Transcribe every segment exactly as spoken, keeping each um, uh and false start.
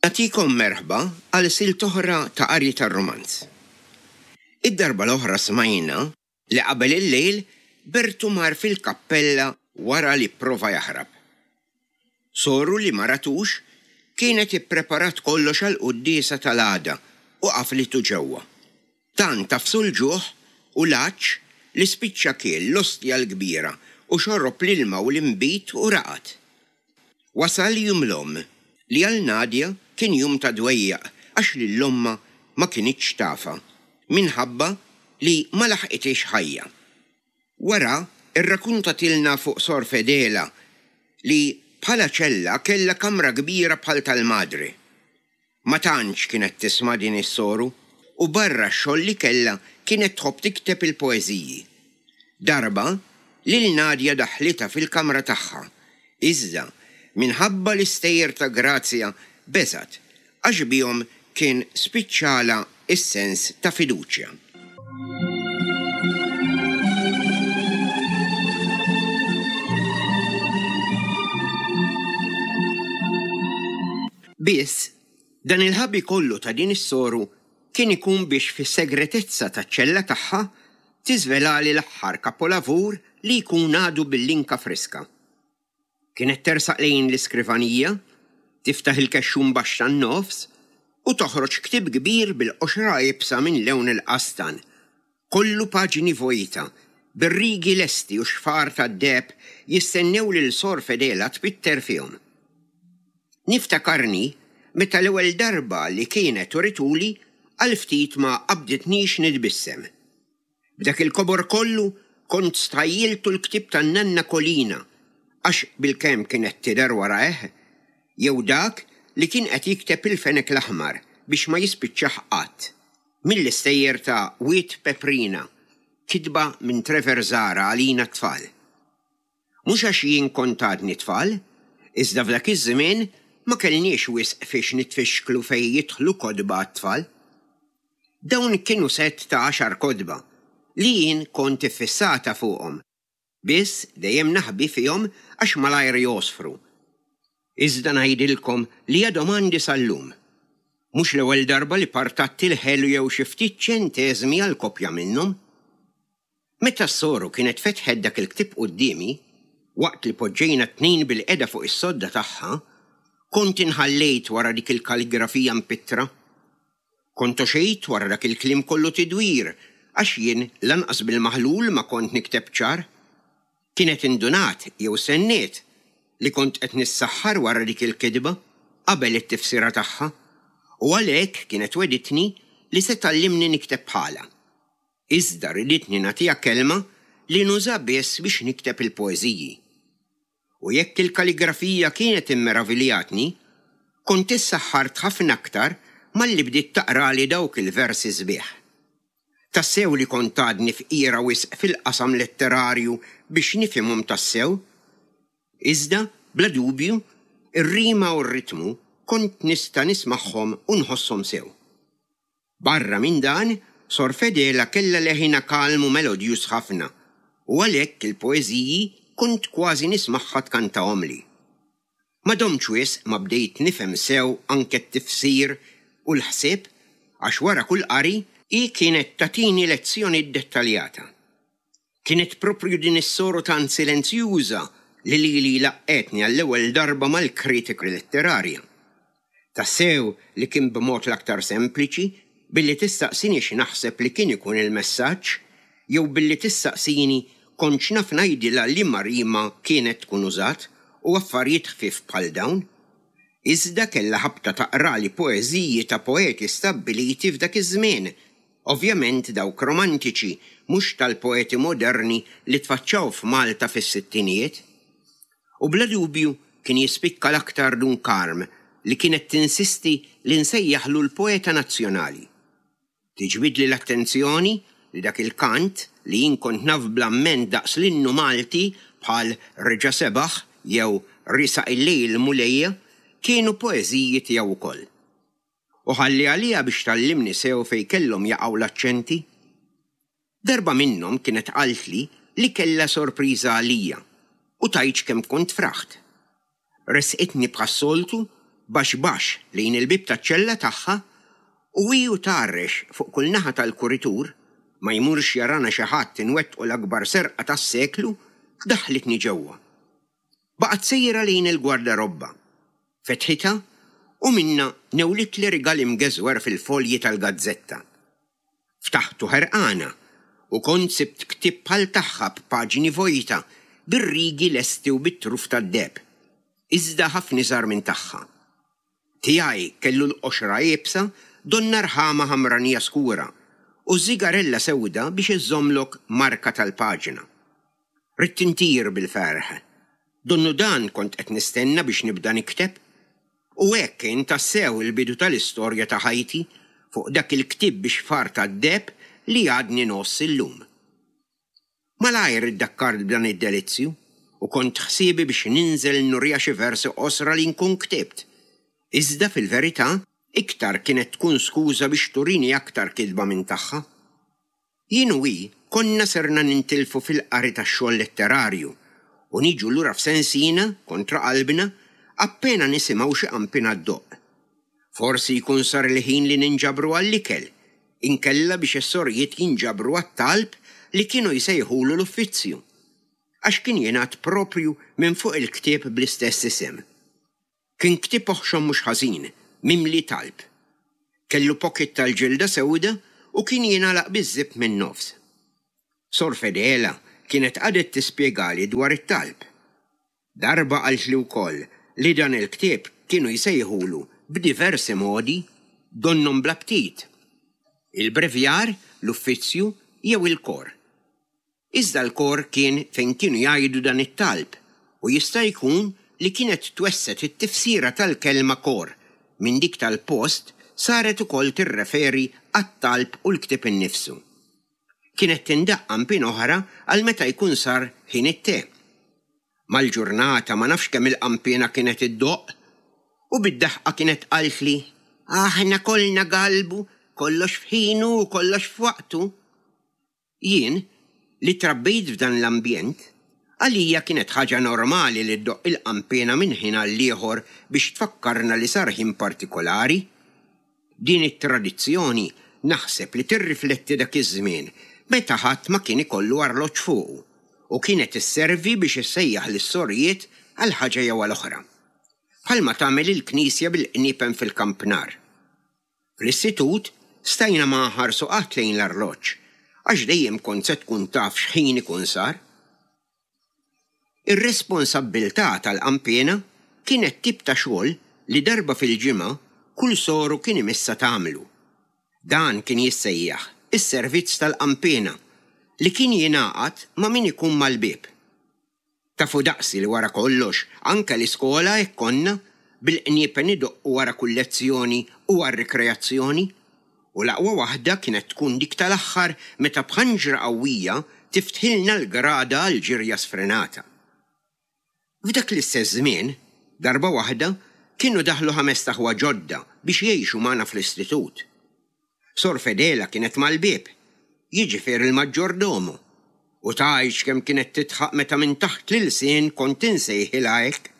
Nagħtikom merħba għal silt oħra ta' qari tar-rumanz. Id-darba l-oħra smajna li qabel il-lejl Bertu mar fil-kappella wara li pprova jaħrab. Soru li ma ratux kienet ippreparat kollox għall-quddiesa tal-għada u qaflitu ġewwa. Tant tafsu l-ġuħ u l-għatx li spiċċa kiel l-ostja l-kbira u xorob l-ilma u l-inbid u raqad. Wasal jum l-omm, li għal Nadia kien jum ta' dwejjaq għax lil ommha ma kinitx tafha, minħabba li ma laħqithiex ħajja. Wara rrakuntatilna fuq Sor Fedela li bħala ċella kellha kamra kbira bħal tal-madre. Ma tantx kienet tisma' din is-soru u barra x-xogħol li kellha kienet tħobb tikteb il-poeżiji. Darba, lil Nadia daħħlitha fil-kamra tagħha, iżda minħabba l-istejjer ta' Grazia beżgħet għax bihom kien spiċċalha s-sens ta' fiduċja. Biss, dan il-ħabi kollu ta' din is-soru kien ikun biex fis-segretezza taċ-ċella tagħha tiżvelali l-aħħar kapolavur li jkun għadu bil-linka friska. Kienet tersaq lejn l-iskrivanija, tiftaħ il-kexxun baxx tan-nofs u toħroġ ktieb kbir bil-qoxra iebsa minn lewn il-qastan, kollu paġni vojta, bir-rigi lesti u xfar tad-deheb jistennew lil Sor Fedela tpitter fihom. Niftakarni meta l-ewwel darba li kienet urituli għal ftit ma qabditnix nitbissem. B'dak il-kobor kollu kont stħajjiltu l-ktieb tan-nanna Kolina għax bilkemm kienet tidher warajh, jew dak li kien qed jikteb il-fenek l-aħmar biex ma jispiċċah qatt, mill-istejjer ta' Wied Peprina, kitba minn Trevor Zahra għalina t-tfal. Mhux għax jien kont għadni tfal, iżda f'dak iż-żmien ma kellniex wisq fiex nitfixklu fejn jidħlu kotba għat-tfal. Dawn kienu sett ta' għaxar kotba li jien kont iffissata fuqhom, biss dejjem naħbi fihom għax malajr jogħsfru. Iżda ngħidilkom li għadhom għandi sal-lum. Mhux l-ewwel darba li partatt il-ħelu jew xi ftit ċenteżmi għal kopja minnhom. Meta s-soru kienet fetħet dak il-ktieb quddiemi, waqt li poġġejna t-tnejn bilqiegħda fuq is-sodda tagħha, kont inħallejt wara dik il-kaligrafija mpittra. Kont għoxejt wara dak il-kliem kollu tidwir, għax jien lanqas bil-maħlul ma kont nikteb ċar. Kienet indunat jew stenniet li kont qed nissaħħar wara dik il-kitba qabel it-tifsira tagħha, u għalhekk kienet wegħditni li se tgħallimni nikteb bħalha. Iżda riditni nagħtiha kelma li nuża biss biex nikteb il-poeżiji. U jekk il-kaligrafija kienet immeraviljatni, kont issaħħart ħafna aktar malli bdiet taqrali dawk il-versi sbieħ. Tassew li kont għadni fqira wisq fil-qasam letterarju biex nifhimhom tassew. Iżda, bla dubju, ir-rima u r-ritmu kont nista' nismagħhom u nħosshom sew. Barra minn dan, Sor Fedela kellha leħinha kalm u melodjuż ħafna, u għalhekk il-poeżiji kont kważi nismagħha tkantahomli. Ma domtx wisq ma bdejt nifhem sew anke t-tifsir u l-ħsieb għax wara kull qari hi kienet tagħtini lezzjoni ddettaljata. Kienet proprju din is-soru tant silenzjuża li lili laqqgħetni għall-ewwel darba mal-kritika letterarja. Tassew li kien b'mod l-aktar sempliċi billi tistaqsini x'naħseb li kien ikun il-messaġġ jew billi tistaqsini kontx naf ngħidilha liema rima kienet tkun użat u affarijiet ħfief bħal dawn. Iżda kellha ħabta taqrali poeżiji ta' poeti stabbiliti f'dak iż-żmien, ovvjament dawk romantiċi, mhux tal-poeti moderni li tfaċċaw f'Malta fis-sittinijiet. U bla dubju kien jispikka l-aktar Dun Karm li kienet tinsisti li nsejjaħlu l-poeta nazzjonali. Tiġbidli l-attenzjoni li dak il-kant li jien kont naf bl-amment daqs l-innu Malti bħal Reġa' Sebaħ jew Riesaq il-Lejl Mulejja kienu poeżiji tiegħu wkoll. U ħalli għaliha biex tgħallimni sew fejn kellhom jaqgħu l-aċċenti. Darba minnhom kienet qaltli li kellha sorpriża għalija u tgħidx kemm kont fraħt. Ressqitni bħas-soltu baxx baxx lejn il-bieb taċ-ċella tagħha u hi u tgħarrex fuq kull naħa tal-kuritur, ma jmurx jarana xi ħadd inwettqu l-akbar serqa tas-seklu, daħħlitni ġewwa. Baqgħet sejra lejn il-gwardarobba. Fetħitha u minnha newlitli rigal imgeżwer fil-folji tal-gazzetta. Ftaħtu ħerqana u kont sibt ktieb bħal tagħha b'paġni vojta, bir-rigi lesti u bit-truf tad-deheb, iżda ħafna iżgħar minn tagħha. Tiegħi kellu l-qoxra iebsa donnha rħama ħamranija skura u żigarella sewda biex iżżommlok marka tal-paġna. Ridt intir bil-ferħ. Donnu dan kont qed nistenna biex nibda nikteb. U hekk kien tassew il-bidu tal-istorja ta' ħajti fuq dak il-ktieb bi xfar tad-deheb li għadni ngħożż illum. Malajr iddakkart b'dan id-delizzju u kont ħsiebi biex ninżel nuriha xi versi qosra li nkun ktibt. Iżda fil-verità iktar kienet tkun skuża biex turini aktar kitba minn tagħha. Jien u hi konna serna nintilfu fil-qari tax-xogħol letterarju u niġu lura f'sensina, kontra qalbna, appena nisimgħu xi qanpiena ddoqq. Forsi jkun sar il-ħin li ninġabru għall-ikel, inkella biex is-sorijiet jinġabru għat-talb li kienu jsejħulu l-uffizzju, għax kien jingħad proprju minn fuq il-ktieb bl-istess isem. Kien ktieb oħxon mhux ħażin, mimli talb. Kellu pocket tal-ġilda sewda u kien jingħalaq biż-żipp min-nofs. Sor Fedela kienet qagħdet tispjegali dwar it-talb. Darba qaltli wkoll li dan il-ktieb kienu jsejħulu b'diversi modi, donnhom bla ptit. Il-brevjar, l-uffizzju jew il-kor. Iżda l-kor kien fejn kienu jgħidu dan it-talb u jista' jkun li kienet twesset it-tifsira tal-kelma kor minn dik tal-post saret ukoll tirreferi għat-talb u l-ktieb innifsu. Kienet tindaqq qanpiena oħra għal meta jkun sar ħin it-te. Mal-ġurnata ma nafx kemm il-qanpiena kienet iddoqq u bid-daħqa kienet qaltli, Aħna kollna galbu, kollox f'ħinu u kollox f'waqtu. Jien, li trabbejt f'dan l-ambjent, għalija kienet ħaġa normali li ddoqq il-qanpiena minn ħin għall-ieħor biex tfakkarna li sar ħin partikolari. Din it-tradizzjoni naħseb li tirrifletti dak iż-żmien meta ħadd ma kien ikollu arloġġ fuqu u kienet isservi biex issejjaħ lis-sorijiet għal ħaġa jew għal oħra. Bħalma tagħmel il-knisja bil-qniepen fil-kampnar. Fl-istitut stajna ma nħarsu qatt lejn l-arloġġ għax dejjem kont se tkun taf x'ħin ikun sar. Ir-responsabbiltà tal-qanpiena kienet tip ta' xogħol li darba fil-ġimgħa kull soru kien imissha tagħmlu. Dan kien jissejjaħ is-servizz tal-qanpiena li kien jingħaqad ma' min ikun mal-bieb. Tafu daqsi li wara kollox anke l-iskola hekk konna bil-qniepen idoqqu wara kull lezzjoni u għar-rikreazzjoni u l-aqwa waħda kienet tkun dik tal-aħħar meta b'ħanġra qawwija tiftħilna l-grada għal ġirja sfrenata. F'dak l-istess żmien, darba waħda, kienu daħlu ħamest aħwa ġodda biex jgħixu magħna fl-istitut. Sor Fedela kienet mal-bieb, jiġifieri l-maġġordomu, u tgħidx kemm kienet tidħaq meta minn taħt l-ilsien kont insejħilha hekk.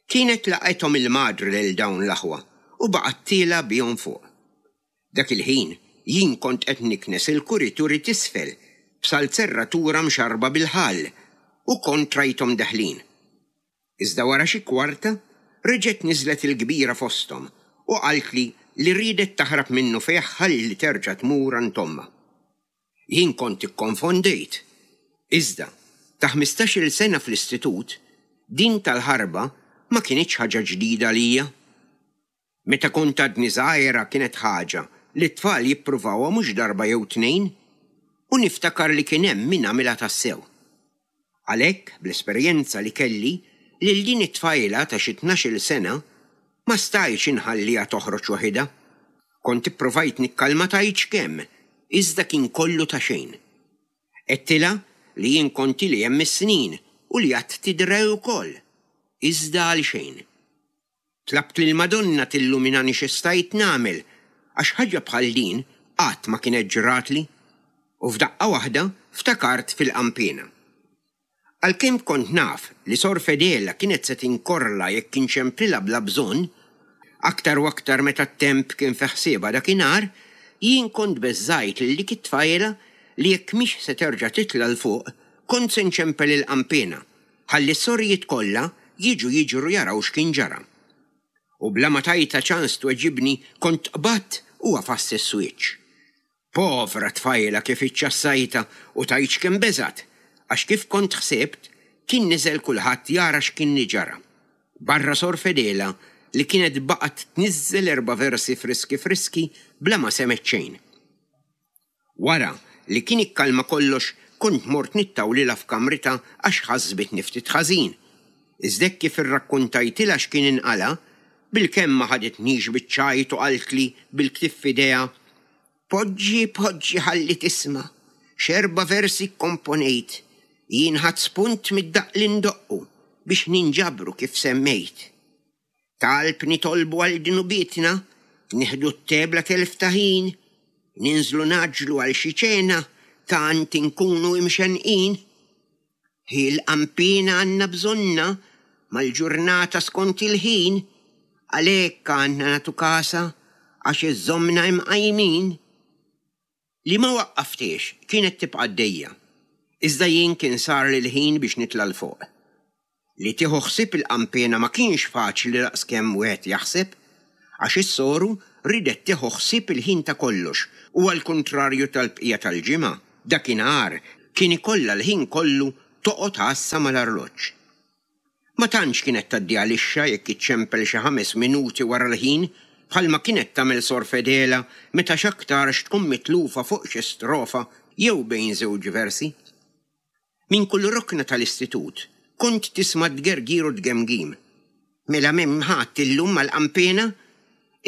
Kienet laqgħethom il-madre lil dawn l-aħwa u baqgħet tiela' bihom fuq. Dak il-ħin jien kont qed niknes il-kurituri t'isfel b'salzerratura mxarrba bil-ħall u kont rajthom deħlin. Iżda wara xi kwarta reġgħet niżlet il-kbira fosthom u qaltli li riedet taħrab minnufih ħalli terġa' tmur għand ommha. Jien kont ikkonfondejt. Iżda, ta' ħmistax-il sena fl-istitut, din tal-ħarba ma kinitx ħaġa ġdida għalija. Meta kont għadni żgħira kienet ħaġa li t-tfal jippruvawha mhux darba jew tnejn u niftakar li kien hemm min għamilha tassew. Għalhekk, bl-esperjenza li kelli, lil din it-tfajla ta' xi tnax-il sena ma stajtx inħalliha toħroġ waħidha. Kont ippruvajt nikkalma tgħidx kemm, iżda kien kollu ta' xejn. Għedtilha li jien kont ili hemm is-snin u li għad tidra hi wkoll, iżda għal xejn. Tlabt lill-Madonna tilluminani xi stajt nagħmel għax ħaġa bħal din qatt ma kienet ġratli. U f'daqqa waħda ftakart fil-qanpiena. Għalkemm kont naf li Sor Fedela kienet se tinkorla jekk inċemplilha bla bżonn, aktar u aktar meta t-temp kien fi ħsiebha dakinhar, jien kont beżżajt lil dik it-tfajla li jekk mhix se terġa' titla' 'l fuq, kont se nċempel il-qanpiena, ħalli s-sorijiet kollha jiġu jiġru jaraw x'kien ġara. U bla ma tajtha ċans tweġibni kont qbadt u għafast is-switch. Povra tfajla kif iċċassajtha u tgħidx kemm beżgħet, għax kif kont ħsibt, kien niżel kulħadd jara x'kien ġara. Barra Sor Fedela li kienet baqgħet tniżżel erba' versi friski friski bla ma semgħet xejn. Wara li kien ikkalma kollox kont mort nittawlilha f'kamritha għax ħasbitni ftit ħażin. Iżda hekk kif irrakkuntajtilha x'kien inqala', bilkemm ma ħaditnix biċ-ċajt u qaltli bil-ktieb f'idejha, Poġġi, poġġi ħalli tisma', x'erba' versi kkomponejt, jien ħadt spunt mid-daqq li ndoqqu biex ninġabru kif semmejt. Talb nitolbu għal dnubietna, nieħdu t-te bla telf ta' ħin, ninżlu ngħaġġlu għal xi ċena, tant inkunu imxennqin. Hi l-qanpiena għandna bżonnha mal-ġurnata skont il-ħin, għalhekk għandna nagħtu kasha għax iżżommna imqajmin. Li ma waqqaftiex kienet tibqa' għaddejja. Iżda jien kien sarli l-ħin biex nitla' 'l fuq. Li tieħu ħsieb il-qanpiena ma kienx faċli daqskemm wieħed jaħseb, għax is-soru ridet tieħu ħsieb il-ħin ta' kollox u għall-kuntrarju tal-bqija tal-ġimgħa, dakinhar kien ikollha l-ħin kollu toqgħod għassa mal-arloġġ. Ma tantx kienet tgħaddi għalixxa jekk iċċempel xi ħames minuti wara l-ħin bħalma kienet tagħmel Sor Fedela meta x'aktarx tkun mitlufa fuq xi strofa jew bejn żewġ versi. Minn kull rokna tal-istitut kont tisma' tgergir u tgemgim. Mela m'hemm ħadd illum mal-qanpiena?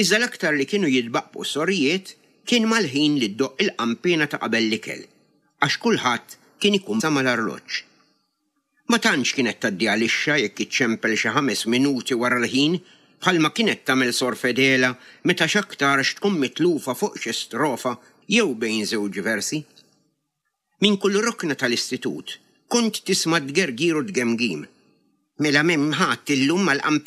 Iżda l-aktar li kienu jitbaqbqu s-sorijiet kien mal-ħin li ddoqq il-qanpiena ta' qabel l-ikel, għax kulħadd kien ikun mal-arloġġ. Ma tantx kienet tgħaddi għalixxa jekk iċċempel xi ħames minuti wara l-ħin bħalma kienet tagħmel Sor Fedela meta x'aktarx tkun mitlufa fuq xi strofa jew bejn żewġ versi. Minn kull rokna tal-istitut kont tisma' tgergir u tgemgim. Mela m'hemm ħadd illum mal-qanpiena?